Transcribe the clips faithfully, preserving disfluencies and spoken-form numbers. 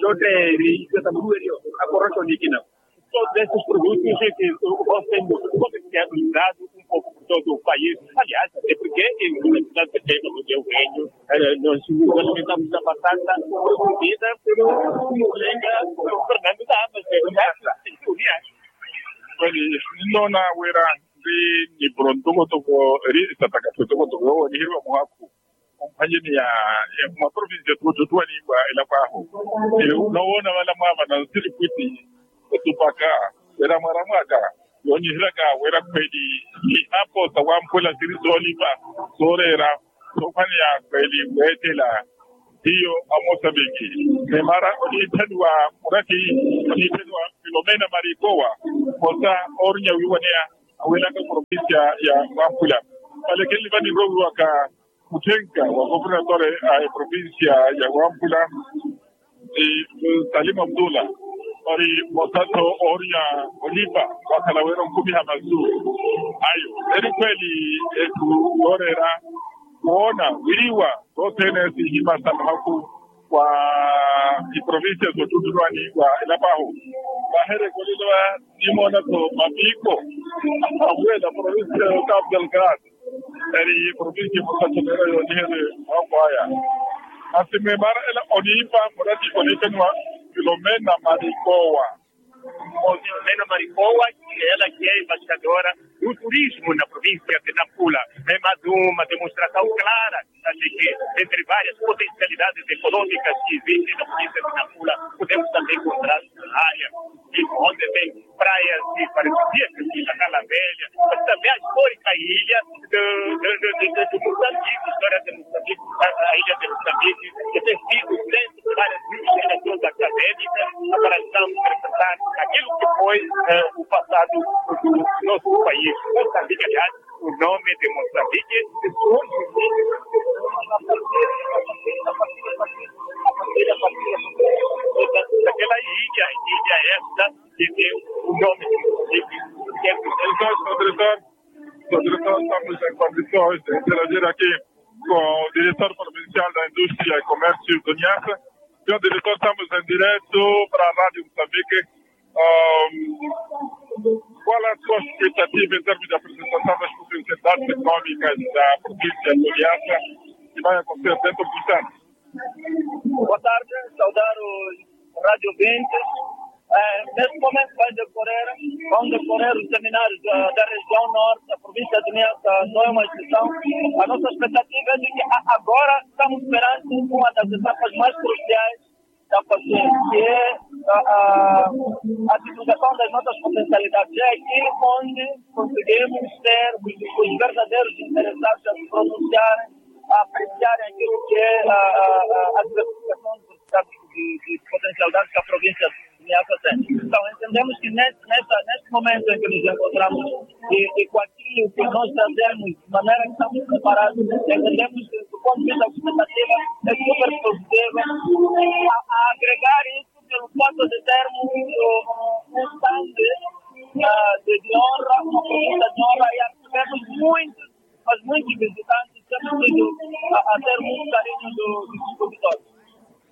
Xotteeri, xotteeri. Akorroxo nikina. Todos esses produtos que estão sendo comercializados um pouco por todo o país. Aliás, até porque o reino, nós estamos na passada produzida pelo colega Fernando Damas, né? Kweli, ninnoona wira ri ni pronto kotoko ri sataka pronto kotoko yowo nihiriwa muhakhu. Omphwanyeni ya, ya maprovincia tuwattuwani wa elapo ahu. Nowoona vala mwaavana nsiripwiti etupaka wira mwaramwaka yoonyihiryaka wira khweli ihapo sawamphwela siri soolipa sooreera soophwaneya khweli weettela hiyo amosambiki. Ni mara oniitthaniwa murati oniitthaniwa filomena marikowa mmosa oorinya wiiwaneya awelaka provincia ya wamphula. Vale khenli vanirowiwaka mutthenka wa governatore a eprovincia ya wamphula ni salima mutula ori mmosa-tho oorinya olipa wakhala wira onkhumiha masu ayo. Eri khweli etthu yooreera woona wiriwa sothene sihimasa muhakhu wa iprovincia soottuttulwani wa elapo ahu. Mahereko lilo aya, nimoona-tho mapiiko aweela provincia ya otavo delgado, eri provincia ya musattolera yooniherye mwaako aya. Masi mwimaara ela oniipa murati oniittaniwa filomena marikowa. Filomena marikowa, ela kiye embassadora do turismo na provincia de nampula. Ema de uma demonstração clara de que entre várias potencialidades econômicas que existem na provincia de nampula podemos também encontrar na área de onde tem praias de paradisíacas de Cacala Velha, mas também a histórica ilha de, de, de Moçambique, história de Moçambique, a ilha de Moçambique, que tem sido centro de várias investigações acadêmicas, para então representar aquilo que foi o passado do nosso país. Moçambique, aliás, o nome de Moçambique, daquela ilha, ilha esta, que tem o nome de Moçambique. Então, professor, professor, estamos em condições de interagir aqui com o diretor provincial da Indústria e Comércio do Niassa. Senhor diretor, estamos em direto para a Rádio Moçambique. Ahm, qual é a sua expectativa em termos de apresentação das potencialidades econômicas da província do Niassa, que vai acontecer dentro de instantes? Boa tarde, saudar os rádio ouvintes. Eh, neste momento vai decorrer, vão decorrer os seminários da, da região norte, a província de Niassa não é uma exceção. A nossa expectativa é de que a, agora estamos perante uma das etapas mais cruciais da paciência, que é a, a, a divulgação das nossas potencialidades. É aqui onde conseguimos ter os, os verdadeiros interessados a se pronunciarem, a apreciarem aquilo que é a, a, a, a diversificação de, de, de potencialidades que a província de Niassa tem. Então, entendemos que neste, nesta, neste momento em que nos encontramos e, e com aquilo que nós trazemos, de maneira que estamos preparados, entendemos que, do ponto de vista da expectativa, é super positiva. A, a agregar isso pelo fato de termos um, um stand, ah, de, de honra, uma presença de honra, e recebemos muitos, mas muitos visitantes, temos tido a, a ter muito carinho do, dos expositores.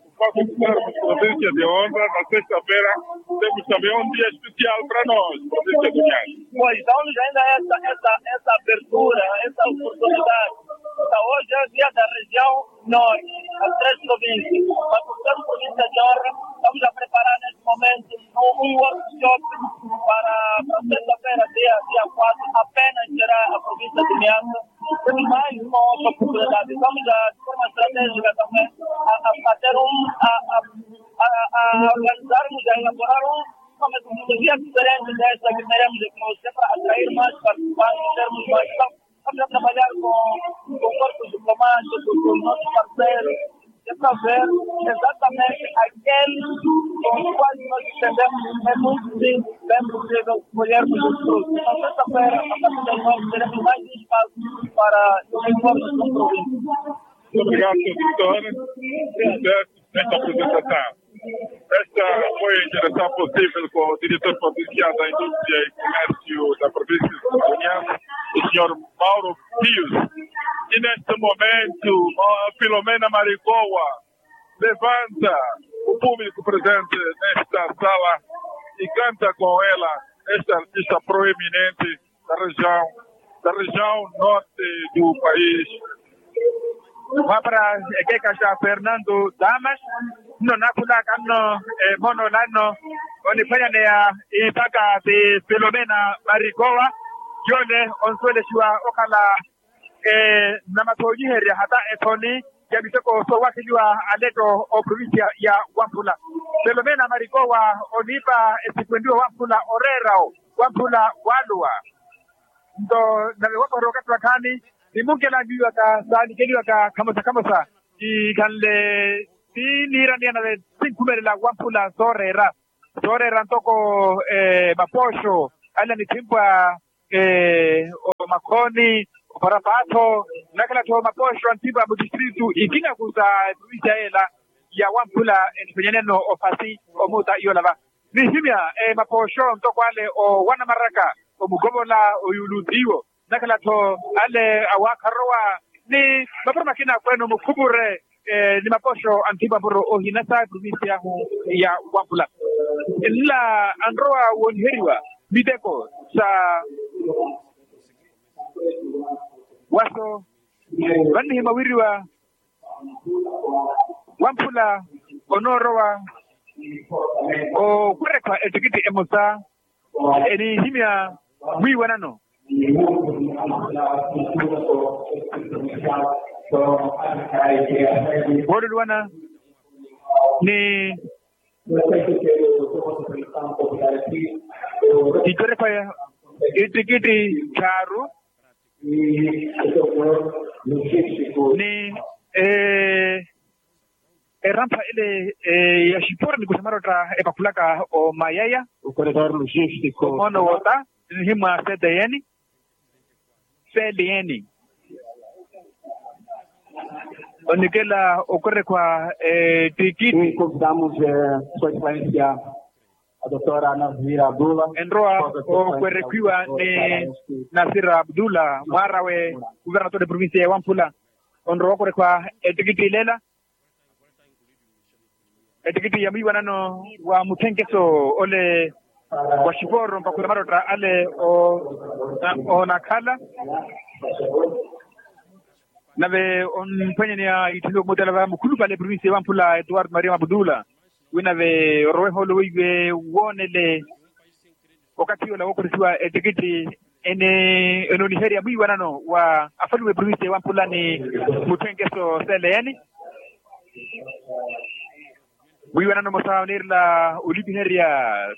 O fato de termos presença de honra na sexta-feira, temos também um dia especial para nós, província do Niassa. Pois, dá-nos ainda essa, essa, essa abertura, essa oportunidade. Então, hoje é dia da região norte, as três províncias. Mas, por ser província de honra, estamos a preparar neste momento um, um workshop para, para sexta-feira, dia, dia quatro, apenas será a província de Niassa. Temos mais uma outra oportunidade. Estamos a, de forma estratégica também, a, a, a ter um, a, a, a, a organizarmos, a elaborar um, uma metodologia diferente desta que teremos de para atrair mais participantes, termos mais. Então, estamos a trabalhar com, com corpos diplomáticos, com nossos parceiros, de saber exatamente aqueles com os quais nós pretendemos, é muito simples, bem possível, colhermos os frutos. Então, sexta-feira, a partir das nove, teremos mais um espaço para os informes com província. Muito obrigado, senhor Vitória. Sucesso nesta apresentação. Esta foi a interação possível com o diretor provincial da Indústria e Comércio da província de Niassa, o senhor Mauro Pius. E neste momento, a Filomena Maricoa levanta o público presente nesta sala e canta com ela esta artista proeminente da região, da região norte do país. Mwaapara ekeekhaxa Fernando Damas, nno naakhulaka nno, eh, mono lanno oniphwanyaneya ipaka ti Filomena Marikowa, yoole onsuwelexiwa okhala, eh, namasoonyiherya hata ethoni ya miteko soowakheliwa aletto oprovincia ya Wamphula. Filomena Marikowa oniipa esikwentiwa Wamphula oreera-wo, Wamphula waluwa. Nto nave wapaherya okathi wakhaani, nimunkelanyiwaka saanikeliwaka khamosa khamosa, ikhanle ti niiraniya nave sinkhumelela Wamphula sooreera, sooreera ntoko, eh, mapooxo ale a nithimpwa, eh, omakhooni, oparapaatho, nakhala-tho mapooxo a nithimpwa mu tistritu ikina ku sa provincia yeela ya Wamphula, eniphenyaneno ofasi omuuta iyolava. Nihimya, eh, mapooxo ntoko ale o wanamaraka, omukovola, oyuuluutiiwo, nakhala-tho ale awaakharowa ni mapuro makina akweene omukhupure, ni mapoxo anthimwa mpuro ohina sa eprovincia yahu ya wampula. Nla anrowa wooniheriwa miteko sa waso vannihimwa wiriwa wamphula onoorowa okwerekhwa ettikitthi emosa enihimya mwiiwanano wooluluwana ni itterekhwa ya ittikitthi thaaru ni erampha ele ya xipori ni kuxa marotta epakhulaka omayaya okoretor logistico omoono wota nihimwa cdn cdn onikela okorekhwa ettikitthi. Convidamos sua excelência a doutora Nazira Abdullah enrowa okwerekhwiwa ni Nazira Abdullah mwaarawe kuvernator eprovincia ya wamphula onrowa okwerekhwa ettikitthi ilela ettikitthi ya mwiiwanano wa mutthenkeso ole wa xiporo mpakhula marotta ale onakhala nave omphwanyaneya itthiiwe kumutela va mukhulupale eprovincia ya wamphula etuwartu maria mabudula wi nave oroweha ole weiwe woonele okathi ola wookhorisiwa ettikitthi enooniherya mwiiwanano wa afalume eprovincia ya wamphula ni mutthenkeso cln mwiiwanano mosa oneerela olipiherya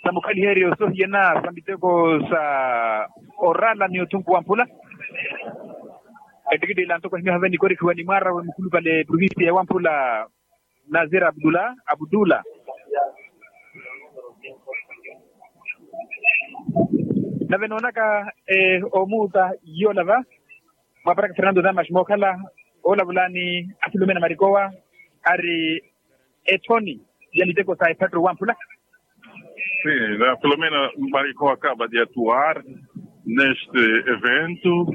sa mukhaliheryo sohiyana sa miteko sa orala ni othunku wamphula ettikitthi ila ntoko ahimyaha veni korikhiwa ni mwaarawe mukhulupale eprovincia ya wamphula nazira abdula abdula nave noonaka omuuta yoola va mwaparaka fernando damas mookhala olavulani a filomena marikowa ari ethoni ya miteko sa ephatto wamphula. Sim, a filomena marikowa acaba de atuar neste evento.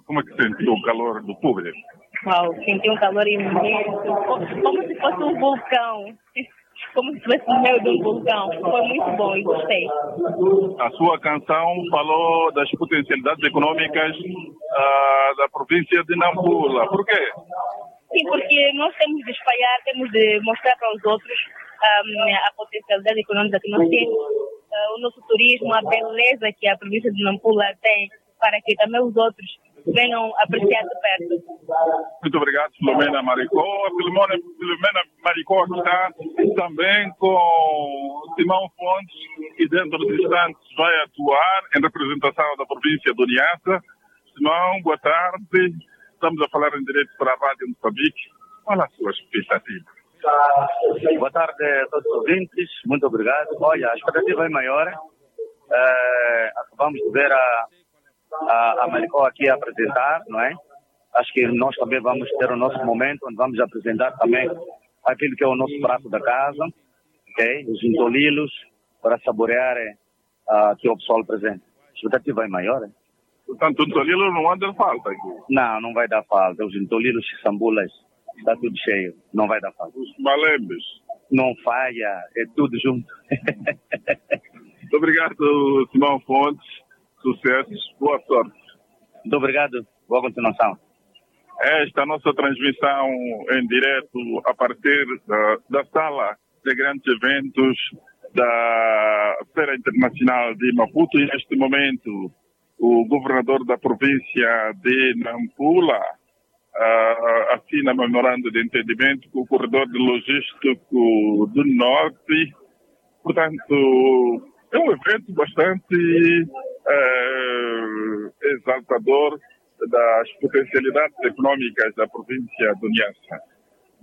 Como é que sentiu o calor do público? Uau, senti um calor imenso, como se fosse um vulcão. Como se estivesse no meio de um vulcão. Foi muito bom e gostei. A sua canção falou das potencialidades econômicas da província de Nampula. Por quê? Sim, porque nós temos de espalhar, temos de mostrar para os outros a potencialidade econômica que nós temos, o nosso turismo, a beleza que a província de Nampula tem. Para que também os outros venham apreciar de perto. Muito obrigado, Filomena Maricó. Filomena, Filomena Maricó está também com Simão Fontes, que dentro de instantes vai atuar em representação da província do Niassa. Simão, boa tarde. Estamos a falar em direto para a Rádio Moçambique. Qual a sua expectativa? Boa tarde a todos os ouvintes, muito obrigado. Olha, a expectativa é maior. Acabamos de ver a, a, a Maricó aqui a apresentar, não é? Acho que nós também vamos ter o nosso momento, onde vamos apresentar também aquilo que é o nosso prato da casa, ok? Os ntolilos, para saborear aqui o pessoal presente. A expectativa é maior, é? Portanto, ntolilo não vai dar falta aqui. Não, não vai dar falta. Os ntolilos, sambulas, está tudo cheio. Não vai dar falta. Os malembes? Não falha, é tudo junto. Muito obrigado, Simão Fontes. Sucessos, boa sorte. Muito obrigado, boa continuação. Esta nossa transmissão em direto a partir da, da sala de grandes eventos da Feira Internacional de Maputo e neste momento o governador da província de Nampula assina memorando de entendimento com o corredor de logístico do norte. Portanto, é um evento bastante exaltador das potencialidades económicas da província do Niassa.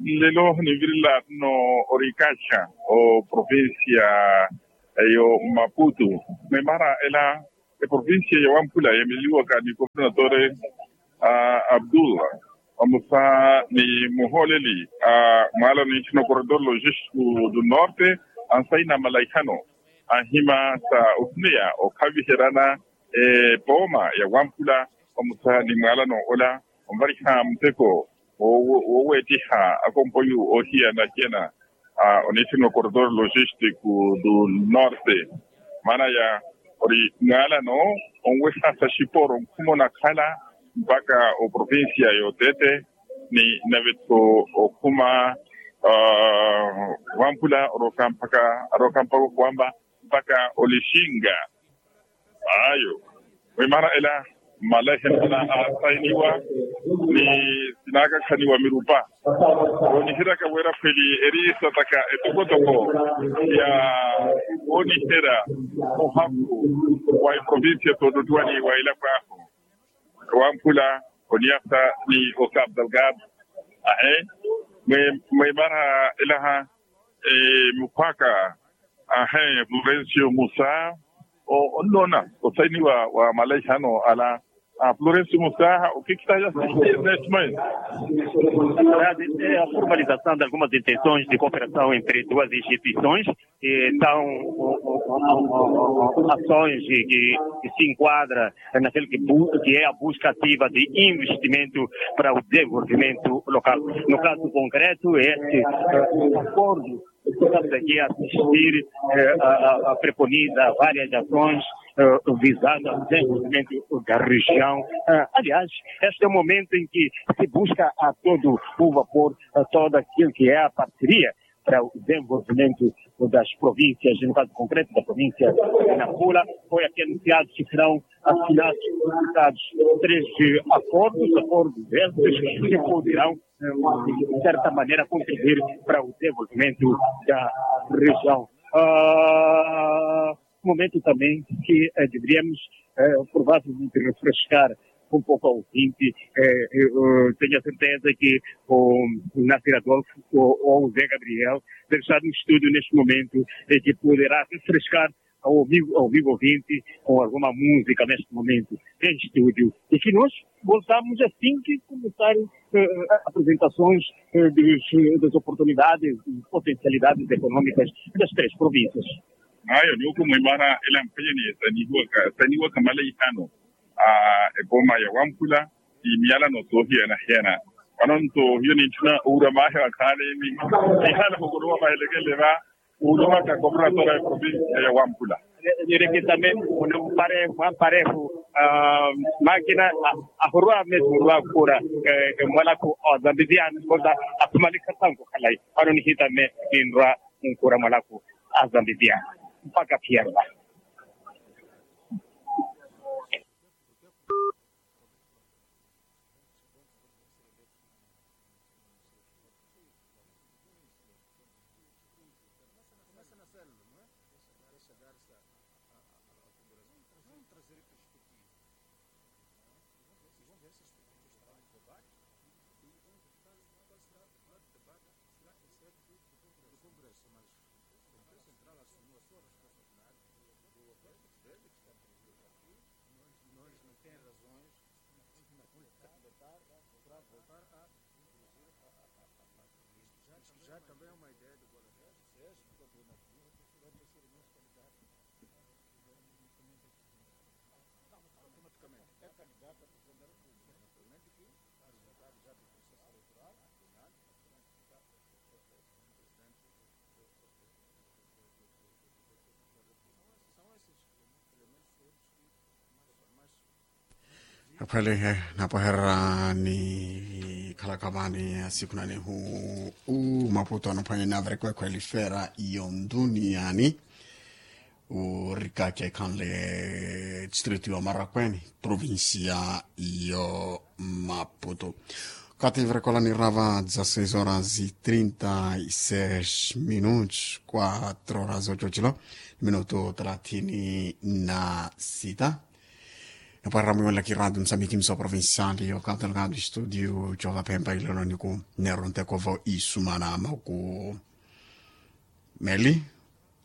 Lelo nivirela no orikaxa o província yo Maputo, memara ela eprovincia ya Wampula yameliwaka ni governador Abdullah, vamosa ni muhooleli a mwaalano ntthu no corredor logístico do norte, ansaina malaihano anhima sa ohuneya okhaviheryana epooma ya Wampula vamosa ni mwaalano ola onvariha muteko Wooweettiha akompoyu oohiyana-hiyana, oniithiniwa corredor logistico do norte. Maana ya ori mwaalano onweha sa xiporo nkhuma onakhala mpakha oprovincia y'otete, ni nave-tho okhuma wamphula arooka mpakha arooka mpakha okhuwamba mpakha olixinga. Ayo, mwimana ela mmalehena asainiwa ni sinakakhaniwa mirupa. Wooniheryaka wira khweli eri sataka etokotoko ya wooniherya muhakhu wa iprovincia tootottiwani wa ilapwahu wamphula oniasa ni ocapo delgado. Ahe, mwimana elaha mukhwaka ahe florencio musa. Onnoona osainiwa wa malaihano ala. Florencio musa okikita ya sixteen. A formalização de algumas intenções de cooperação entre duas instituições, que são ações que se enquadra naquele que é a busca ativa de investimento para o desenvolvimento local. No caso concreto, este acordo, estamos aqui a assistir, a preconiza várias ações visando o desenvolvimento da região. Aliás, este é o momento em que se busca a todo o vapor todo aquilo que é a parceria para o desenvolvimento das províncias, no caso concreto da província de Nampula, foi aqui anunciado que serão assinados três acordos, acordos estes que poderão, de certa maneira, contribuir para o desenvolvimento da região. Momento também que deveríamos provavelmente refrescar um pouco ao ouvinte. Tenho a certeza que o Nasir Adolfo ou o Zé Gabriel deve estar no estúdio neste momento, que poderá refrescar ao amigo, ao amigo ouvinte com alguma música neste momento em estúdio. E que nós voltamos assim que começarem apresentações das oportunidades e potencialidades econômicas das três províncias. Ayo niwuku mwimana ela mphenya ni esaniwaka esaniwaka malaihano a epoma ya wamphula ni miyalano soohiyana-hiyana. Vano nto hiyo nintthuna owura mahe wakhaani ni nihala hukuluwa mahelekele va. Uluhaka kopratora ya provincia ya wamphula. Nirikitame mune muparehu mwamparehu makina ahurwa mesi murwa khura mwalaku ozambiziyani koza. Aphumalikhasa nkukhalai vano nihitame ninrwa nkura mwalaku azambiziyani mpaka phiyarwa. Akhwele napahererani khalaka vani asikhunanihu u maputo anophwanya naverekwekho elifera yo nduniyani. Urikakya ikhanle distrito yo marakweni provincia yo maputo. Kati verekola nirava dza seis horas e trinta e seis minutos quatro horas ocho chilo minuto thelathini na sita. Napwarira mwiwelaki radio msamiki mso provincial yo katalgado studio choka pemba iloloniku. Nerontekovo isumana maku meli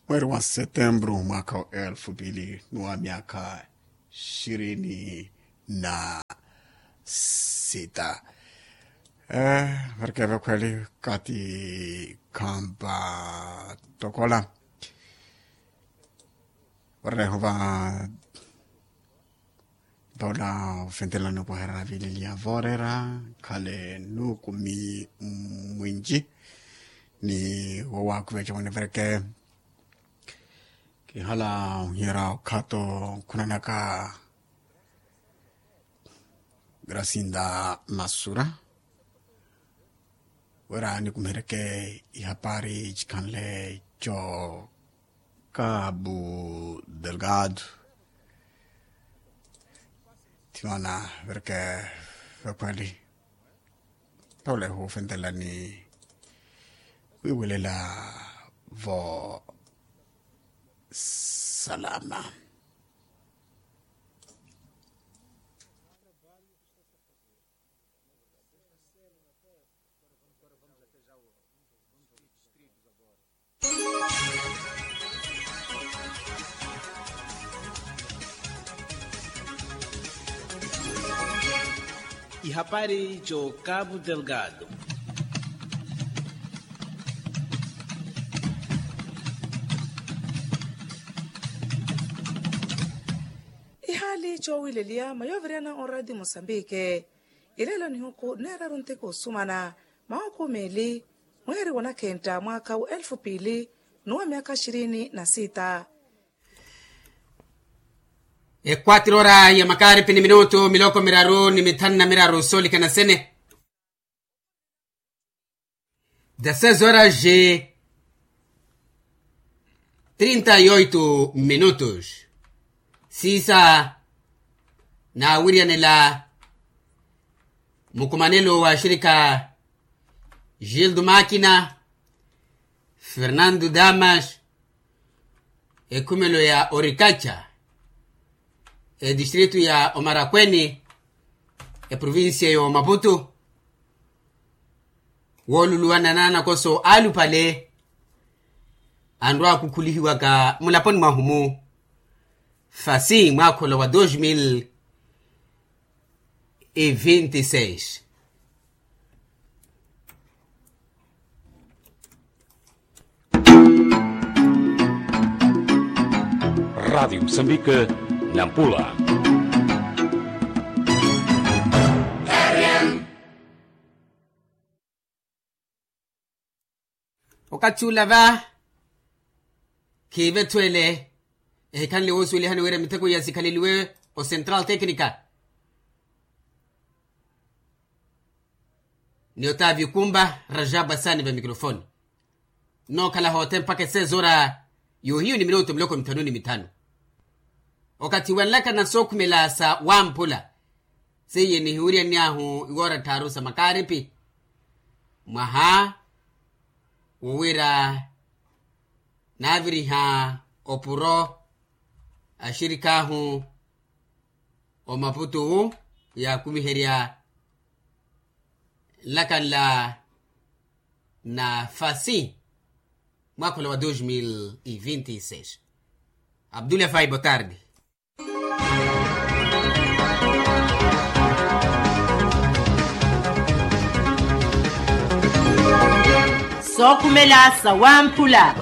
mweri wa setembru mwaka wa elfu mbili ni wa myaka ishirini na sita. Varikeve khweli kati khamba tokola vareho va Paula ofentelani opwaherya vililiya voorera khale nukumi mwinji ni wowakhuveca mwenevereke. Kihala ohiyera okhato khunanaka grasinda masura wira nikumihereke ihapari cikhanle co kabu delgado. Thimana vereke vekhweli. Tole hufentelani wiwelela vo salama. Ihapari co kabu delgado. Ihali cowileliya mayoviriyana oradi mosambike. Ilelo nihuku neeraru ntiku osumana mahuku meeli mweeri wa nakhenta mwaka wa elfu piili nuwa myaka ishirini na sita. Ekwatiro ora ya makaripi ni minutu miloko miraru ni mithanu na miraru solikana sene. Dezesseis horas e trinta e oito minutos. Siisa naawiryanela mukumanelo wa axirika gildo makina, fernando damas, ekhumelo ya orikaca, edistritu ya omarakweni, eprovincia ya omaputu. Wooluluwana n'anakoso alupale anrwa akukhulihiwaka mulaponi mwahu mu fasi mwaakholo wa dos mil e vinte e seis. Rádio Moçambique, Nampula. Okathi ula va khiivetho ele ehikhanle woosuwelihani wira mitheko iya sikhaleliwe o central tecnica. Ni otavio kumba rajabu asaani va mikrofoni. Nookhala hoothe mpakha esezora yohiyu ni minutu miloko mithanu ni mithanu. Okathi wanlaka na sookhumela sa wamphula seiye nihiwiryanyahu iwoora tthaaru sa makaaripi mwaha wowira naaviriha opuro axirikaahu omaputu yaakumiherya nlakanla na fasi mwakhola wa dos mil e vinte e seis. Abdullah fai botardi. Sookhumela sa wamphula.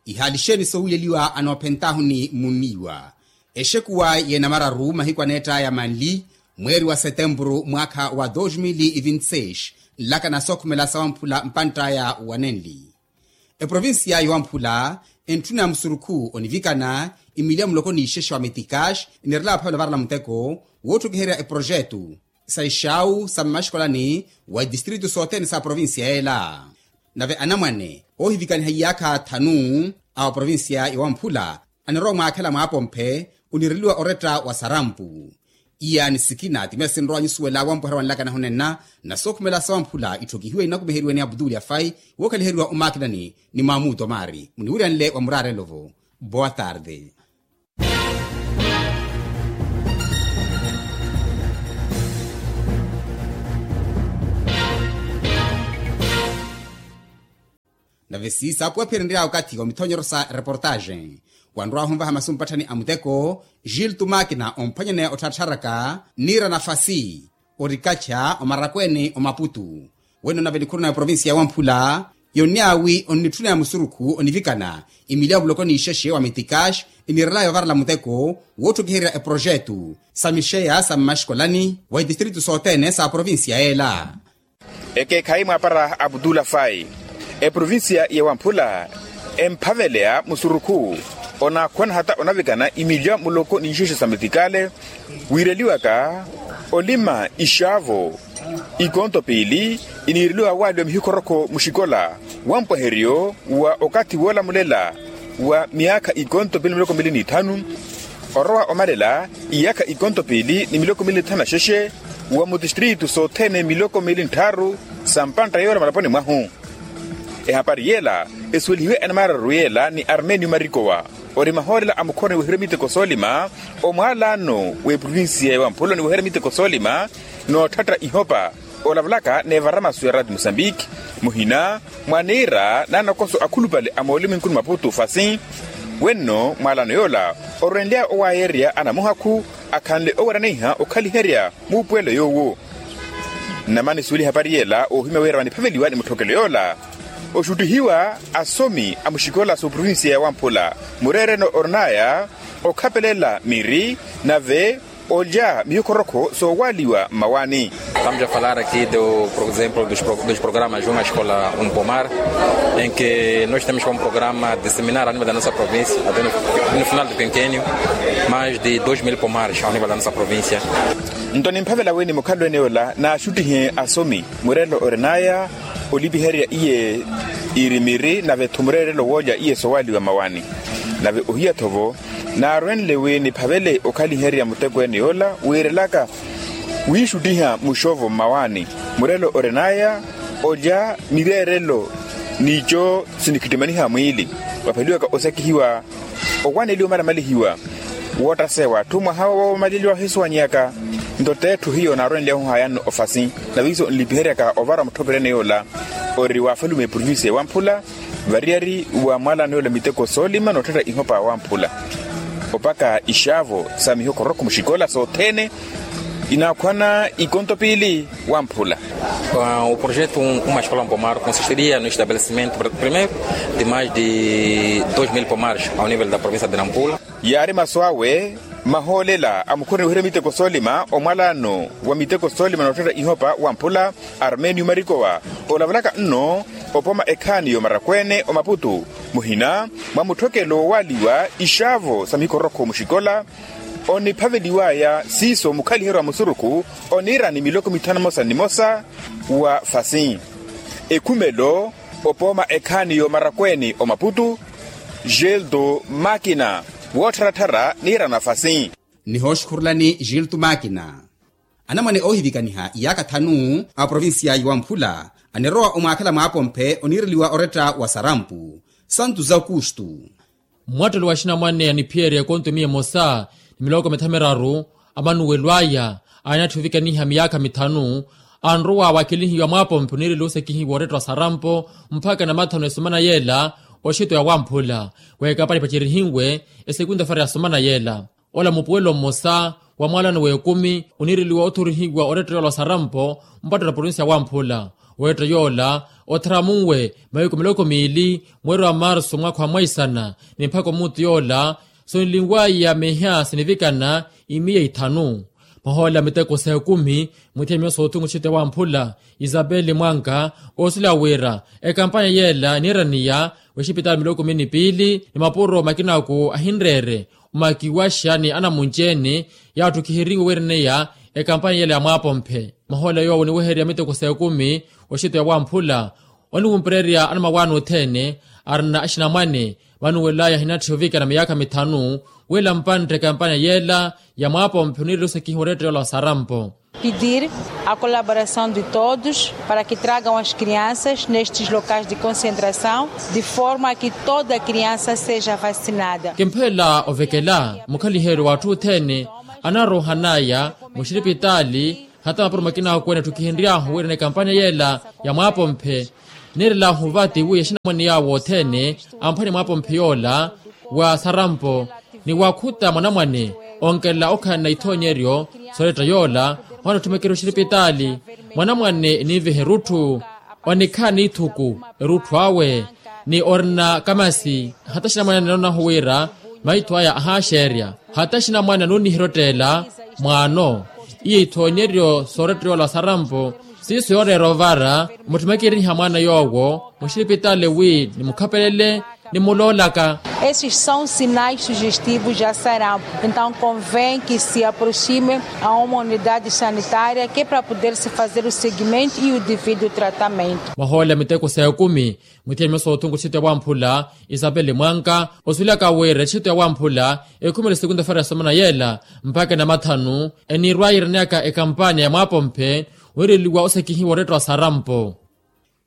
Ihaali xeeni sowileliwa anoophentaahu ni muniiwa? Exekuwa y'enamararu mahiku aneett'aya manli mweeri wa setempuru mwaakha wa dos mil e vinte e seis nlaka na sookhumela sawamphula mpant'aya wanenli. Eprovincia yowamphula entthuna ya musurukhu onivikana imiliya muloko n'ixexa wa metikax enirela aphavela ovarela muteko wootthokiherya eprojetu sa ixawu sa mmaxikolani wa itistritu sothene sa provincia yeela. Nave anamwane oohivikaniha iyaakha thanu a oprovincia yowamphula anirowa mwaakhela mwaapomphe onireliwa oretta wa sarampu. Iya ni sikina ti meesinrowa nyusuwela wampuherya wanlaka nahunenna na sookhumela sawamphula itthokihiwe inakumiheriwe ni abduli afai wookhaliheriwa omakinani ni maamuto maari muniwiryanle wa muraarelo-vo. Boa tarde. Nave siisa apuwaphirenrya okathi wa mithonyero sa reportaxe wanrwaahu onvaha masu mpatthani a muteko gilto makina omphwanyaneya ottharattharaka niira nafasi orikacha omarakweeni omaputu. Wene onavelikhuruna ya provincia ya wamphula yonniya wi onnitthuneya musurukhu onivikana imiliya muloko n'ixexe wa mitikaxi eniirelaya ovarela muteko wootthukiherya eprojetu sa mixeya sa mmaxikolani wa itistritu sothene sa provincia yeela. Ekeekhayi mwaapara abutula fayi eprovincia ya wamphula emphaveleya musurukhu onaakhwana hata onavikana imiliya muloko n'ixexe sa mitikale wiireliwaka olima ixaavo ikonto piili iniireliwa waaliwa mihikhorokho muxikola wa mpwaheryo wa okathi woolamulela wa miyaakha ikonto piili ni miloko miili n'ithanu orowa omalela iyaakha ikonto piili ni miloko miili n'ithanu na xexe wa mutistritu sothene miloko miili n'tthaaru sa mpantta yoola malaponi mwahu. Ehapari yeela esuwelihiwe enamaararu yeela ni armenio marikowa ori mahoolela a mukhoroni wohirya miteko soolima omwaalaano w'eprovincia ya wamphula ni wohirya miteko soolima nootthata ihopa olavalaka n'evara masu ya rati musambiki muhina mwa niira n'anokoso akhulupale a moolimu enkuni maputu fasi. Wenno mwaalaano yoola orwenly'aya owaayerya anamuhakhu akhanle oweraneiha okhaliherya muupuwelo yoowo. Nnamani suweli ehapari yeela oohimya wira vaniphaveliwa ni mutthokelo yoola oxuttihiwa asomi a muxikola s'oprovincia ya wamphula mureereno orinaya okhapelela miri nave olya mihikhorokho soowaaliwa mmawaani. Estamos a falar aqui do, por exemplo, dos programas Uma Escola, um Pomar, em que nós temos como programa disseminar ao nível da nossa província, até no final do quinquênio, mais de dois mil pomares ao nível da nossa província. Nto nimphavela wi ni mukhalweni ola naaxuttihe asomi mureerelo orinaya olipiherya iye irimiri nave-tho mureerelo woolya iye soowaaliwa mmawaani. Nave ohiya-tho-vo naarwenle wi niphavele okhaliherya muteko ene yoola wiirelaka wiixuttiha muxovo mmawaani mureerelo orinaya olya mireerelo n'ico sinikhittimaniha mwiili wapheliwaka osakihiwa owaneliwa omalamalihiwa woottaseya w'atthu mwaha woomaleliwa ohisowanyeaka. Nto t'etthu hiyo naarwenly'ahu haayanno ofasi nave iso nlipiheryaka ovara mutthopeleni yoola ori waafalume eprovincia ewamphula variyari wa mwaalano yoola miteko soolima nootthetta ihopa wamphula opaka ixaavo sa mihokorokho muxikola sothene inaakhwana ikonto piili wamphula. O projeto uma escola mpomar consistiria no estabelecimentu primeiro de mais de dois mil pomares ao nível da província de nampula. Yaari masu awe mahoolela a mukhoroni wohirya miteko soolima omwalano wa miteko soolima nootthetta ihopa wamphula armenio marikowa olavalaka nno opoma ekhaani y'omarakweene omaputu muhina mwa mutthokelo woowaaliwa ixaavo sa mihikorokho muxikola oniphaveliw'aya siiso mukhaliheryo wa musurukhu oniira ni miloko mithanu emosa ni nimosa wa fasi ekhumelo opooma ekhaani y'omarakweene omaputu gildo makina woottharattharya niirana fasi. Nihooxukhurulani gildo makina anamwane oohivikaniha iyaaka thanu a provincia ya wamphula anirowa omwaakhela mwaapomphe oniireliwa oretta wa sarampu santu za okustu. Mwattelo wa axinamwane aniphiyerya ekonto miya emosa ni miloko mithamiraru amanuwelo aya aanatthivikaniha miyaakha mithanu anrowa waakelihiwa mwaapomphe oniireliwa osakihiwa oretta wa sarampo mpakha namathanu esomana yeela oxito ya wamphula wa ekampani epacerihiwe esekunta fara ya somana yeela ola mupuwelo mmosa wa mwaalano w'ekumi oniireliwa othorihiwa oretta yoola wa sarampo mpatto na provincia ya wamphula oretta yoola otharamunwe mahiku miloko miili mweeri wa marsu mwaakha wa mwaisana ni mpakha omuutu yoola sonlinwaya meha sinivikana imiya ithanu. Mahoolela miteko s'ekumi mwiithiya miyo s'othunga oxito ya wamphula isabeli mwanka oosila wira ekampanya yeela eniiraniya w'exipitaali miloko miili ni piili ni mapuro makinaku ahinreere omakiwaxa ni anamunci-ene yaatthukiheriwe wiiraneya ekampanya yeela ya mwaapomphe. Mahoolela yoowo oniwehererya miteko s'ekumi oxito ya wamphula oniwumpererya anamawaani othene arina axinamwane vanuwelaya ahinatthiya ovikana miyaakha mithanu wila mpantta ekampanya yeela ya mwaapomphe oniireliwa osakihiwa oretta yoola wa sarampo. Pedir a colaboração de todos para que tragam as crianças nestes locais de concentração de forma a que toda criança seja vacinada. Kimphelela ovekela mukhaliheryo w'atthu othene anaroohan'aya muxiripitaali hata mapuro makina akokwene atthukihenry'ahu wiirana ekampanya yeela ya mwaapomphe niirel'ahu vati wi axinamwane yaawo othene amphwanye mwaapomphe yoola wa sarampo ni waakhuta mwanamwane onkelela okhalana ithoonyeryo sooletta yoola mwaana otthumekerya oxiripitaali mwanamwane eniiveha erutthu Onikhala n'ithuku erutthu awe ni orina kamasi hata axinamwane anonahu wira maitho aya ahaaxeerya. Hata axinamwane anooniherya otteela mwaano. Iyo ithoonyeryo sooretteyoola sarampo siiso yooreera ovara mutthimekeriha mwaana yoowo muxipitaali wi nimukhapelele nimuloolaka. Esses são sinais sugestivos de sarampo. Então convém que se aproxime a uma unidade sanitária que para poder se fazer o seguimento e o devido tratamento. Mwahoolela miteko sa ekumi muthiya miyo soothunku txitto ya wamphula isapeli mwanka osuwelaka wira etxitto ya wamphula ekhumela esekunta fara ya somana yeela mpakha enamathanu. Enirwa yiiraneyaka ekampanya ya mwaapomphe wiireliwa osekihiwa oretta wa sarampo.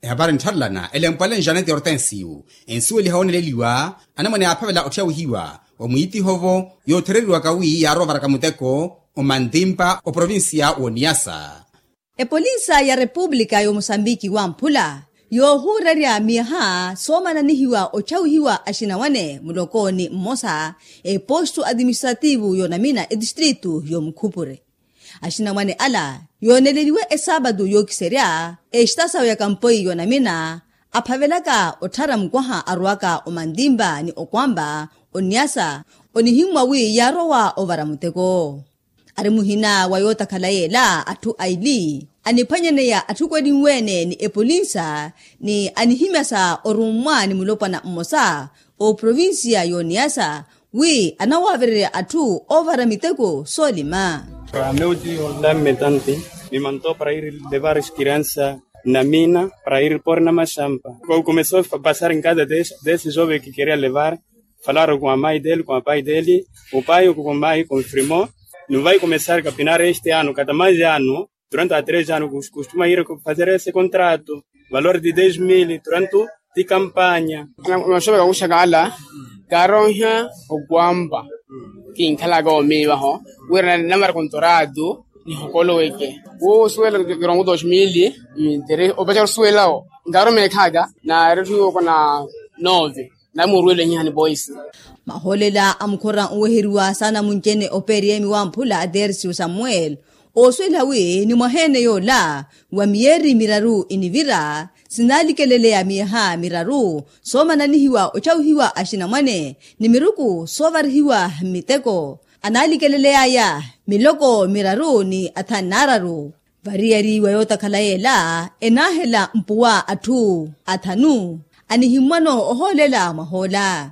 Ehapari nttharelana elempwale njanete ortensiyu ensuweliha wooneleliwa anamwane yaaphavela otthyauhiwa wa mwiitihovo yoothereriwaka wi yaarovaraka muteko omantimpa oprovincia w'oniyasa. Epolinsa ya repupulika y'omosambiki wamphula yoohuurerya miyaha soomananihiwa otthyauhiwa axinawane mulokooni mmosa epostu atiministrativu yoonamina etistritu y'omukhupure. Axinamwane ala yooneleliwe esaapatu yookiserya exitasawu ya kampoi yoonamina aphavelaka otthara mukwaha arowaka omantimpa ni okwampa oniyasa onihimmwa wi yaarowa ovara muteko. Ari muhina wa yootakhala yeela atthu aili aniphwanyaneya atthu kwelinwe-ene ni epolinsa ni anihimyasa orummwa ni mulopwana mmosa oprovinsiya y'oniyasa wi anawaavererya atthu oovara miteko soolima. Para meu tio dame tanti me mandó para ir levar as crianças na mina para ir pôr na machamba. Como começou a passar em casa desse, desse jovem que queria levar, falaram com a mãe dele, com a pai dele, o pai ou com a mãe confirmou, não vai começar a capinar este ano, cada mais ano. Durante a três anos costuma ir fazer esse contrato, valor de dez mil durante de campanya. Maxoveka kuxaka ala kaaronha okwampa kinkhalaka omiivaho wira namara kontoratu nihokoloweke wosuwela kirongo dos mil. Opachaka osuwelawo nkaaruma ekhaka naaretthu yokona nove. Namuruwele nhihani poisi. Mahoolela a mukhora onweheriwa saana munci-ene opeeriyemi wamphula a tersiyo samuel oosuwela wi ni mwaha-ene yoola wa miyeeri miraru inivira sinalikeleleya miyaha miraru soomananihiwa otthyauhiwa axinamwane ni miruku soovarihiwa mmiteko analikeleleyaya miloko miraru ni athanu naararu. Variyari wa yootakhala yeela enaahela mpuwa atthu athanu anihimmwano ohoolela mwahoola.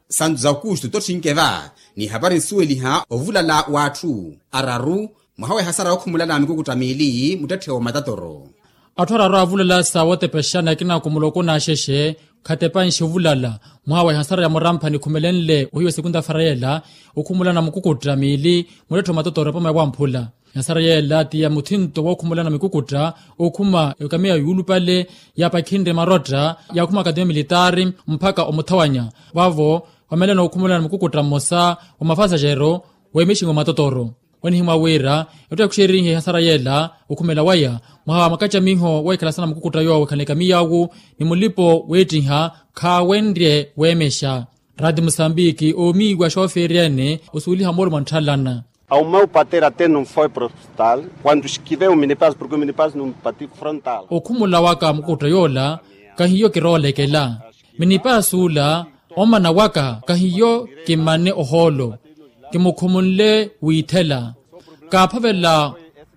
Santu za aukustu totthinkeva ni hapari nsuweliha ovulala w'atthu araru mwaha wa ehasara yookhumulana mikukutta miili muttetthe wa matatoro. Atthu araru avulala sa wootepexana akina kumuloko n'axexe khatepanxe ovulala mwaha wa ehasara ya muramphani khumelenle ohiwa esekunta fara yeela okhumulana mukukutta miili muttetthe wa matatoro epoma ya wamphula. Yasara yeela ti ya muthinto wookhumulana mikukutta okhuma ekamiya yuulupale yaapakhinre marotta yaakhuma akatemiya militaari mpakha omuthawanya vaavo vamelana okhumulana mikukutta mmosa wa mafasaxero weemexingo matotoro. Onihimwa wira etthu yaakhuxerihe yasara yeela okhumela waya mwaha wa makacamiho weekhalasana mukukutta yoowo ekhala ekamiya awu ni mulipo weettiha khaawenrye weemexa. Rati musambiki oomiiwa xoofeeri ene osuweliha moolumo antthalana. Ao meu pater até não foi para o hospital quando esquivei o minipaz porque o minipaz não batiu frontal. Okhumula waka mukutta yoola kahiyo kiroolekela minipaz ula omana waka kahiyo kimane ohoolo kimukhumule wiithela kaaphavela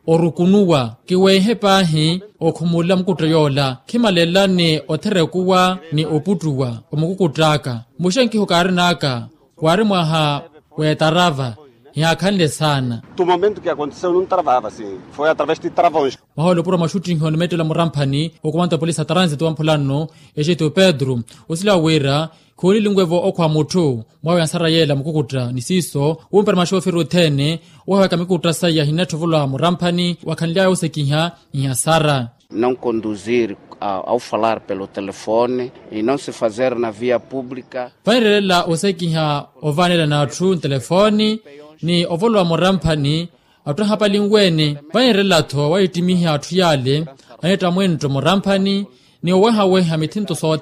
orukunuwa kiweehe paahi okhumula mukutta yoola khimalelani otherekuwa ni oputtuwa omukukutt'aka. Muxenkiho kaarin'aka waari mwaha w'etarava hiyaakhanle saana. Tu momento ke aconteceu num travava si foi através de travões. Mwaha olopuro mwaxuttihi onimettela muramphani okomanta polisi a transit wa mphulanno exeto pedro osila wira khoonilinwe-vo okhwa mutthu mwawe ansara yeela mukukutta ni siiso wumpera maxooferi othene owahaweka mikukutta saya hinnatthi ovolwa muramphani wakhanly'aya osekiha nhiyasara. Não conduzir ao falar pelo telefone e não se fazer na via pública. Vanirelela osekiha ovanela n'atthu ntelefoni ni ovolwa muramphani atthu ahapalinwe-ene vanirelela-tho wahittimiha atthu yaale anitta mwentto muramphani ni owehaweha mithinto soothene.